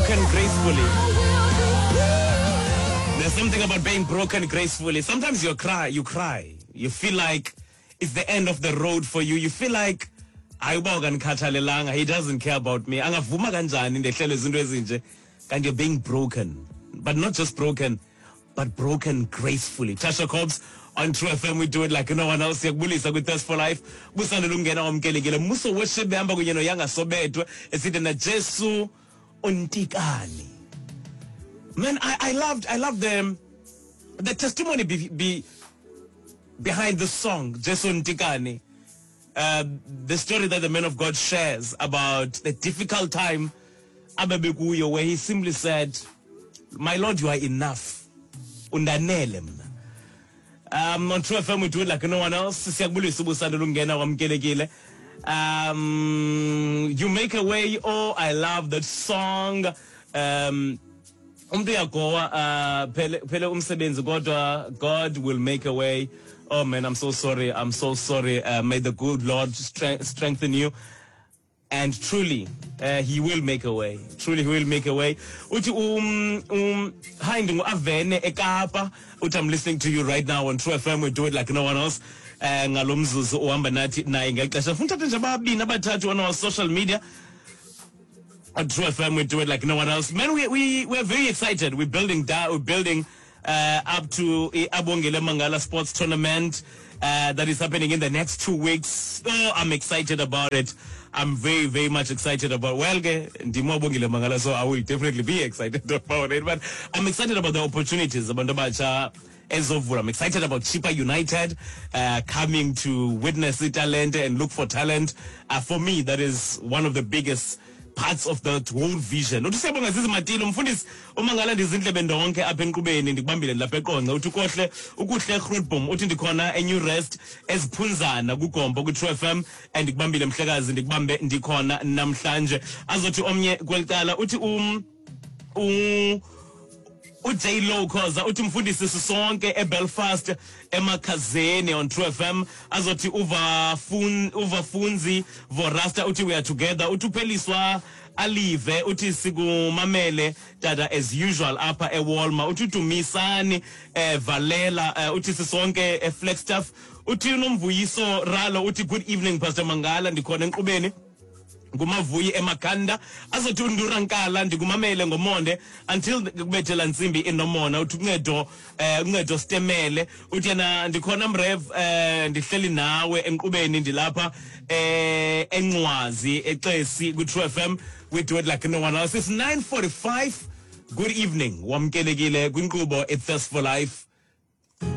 Broken gracefully. There's something about being broken gracefully. Sometimes you cry, you cry. You feel like it's the end of the road for you. You feel like hayi uba ukandikhathalelanga he doesn't care about me angavuma kanjani ndehlele izinto ezinje kanti you're being broken but not just broken but broken gracefully. Tasha Cobbs on True FM, we do it like no one else. Siyakubulisa kwi-Thirst for Life. Busandula ungena wamkelekile. Muso worship behamba kunye noYanga Sobetwe esithi na Jesu untikani. Man, I, I loved I loved the the testimony be, be behind the song Jesu Ntikani. Uh, the story that the man of God shares about the difficult time abebekuyo where he simply said, My Lord, you are enough. Undanele mna. Um, on True FM we do it like no one else. Siyakubulisa ubusanda lungena wamkelekile. Um, you make a way. Oh, I love that song. Um, umntu uyagowa uh, phele, phele umsebenzi kodwa God will make a way. Oh man, I'm so sorry. I'm so sorry. Uh, may the good Lord strengthen you. And truly, uh, he will make a way. Truly, he will make a way. Uthi um um hi ndingu-Avene eKapa. Uthi I'm listening to you right now on True FM. We do it like no one else. Eh ngalo mzuzu uhamba nathi naye ngexesha. Funa uthathe nje ababini abathathu on our social media. On True FM, we do it like no one else. Man, we, we, we're very excited. We're building down, we're building uh, up to Abongile Mangala Sports Tournament uh, that is happening in the next 2 weeks. Oh, I'm excited about it. I'm very, very much excited about. Well, ke ndimo Mangala, so I will definitely be excited about it. But I'm excited about the opportunities. Abantu abatsha ezovula. I'm excited about Chippa United coming to witness the talent and look for talent. For me, that is one of the biggest parts of that whole vision. Uthi siyabonga Zizi Matilo mfundisi uMangala ndizindlebe ndonke apha enkqubeni ndikubambile lapha eQonce uthi ukohle ukuhle Grootboom uthi ndikhona eNew Rest eziphunzana kugombo kwi-True FM and ndikubambile mhlekazi ndikubambe ndikhona namhlanje azothi omnye kwelicala uthi um u uJ Low Khoza uthi mfundisi sisonke eBelfast emakhazeni on True FM azothi uvafun uvafunzi Vorasta uthi we are together uthi upheliswa alive uthi sikumamele tata as usual apha eWalmart uthi udumisani eh Valela eh, uthi sisonke eFlagstaff uthi unomvuyiso Ralo uthi good evening Pastor Mangala ndikhona enkqubeni ngumavuyi emakhanda azothi undurankala ndikumamele ngomonde until kubethela ntsimbi inomona uthi uncedo eh uncedo sitemele uthi yena ndikhona mrev eh ndihleli nawe enkqubeni ndilapha eh encwazi exesi ku True FM we do it like no one else. It's 9:45. Good evening, wamkelekile kwinkqubo iThirst for Life.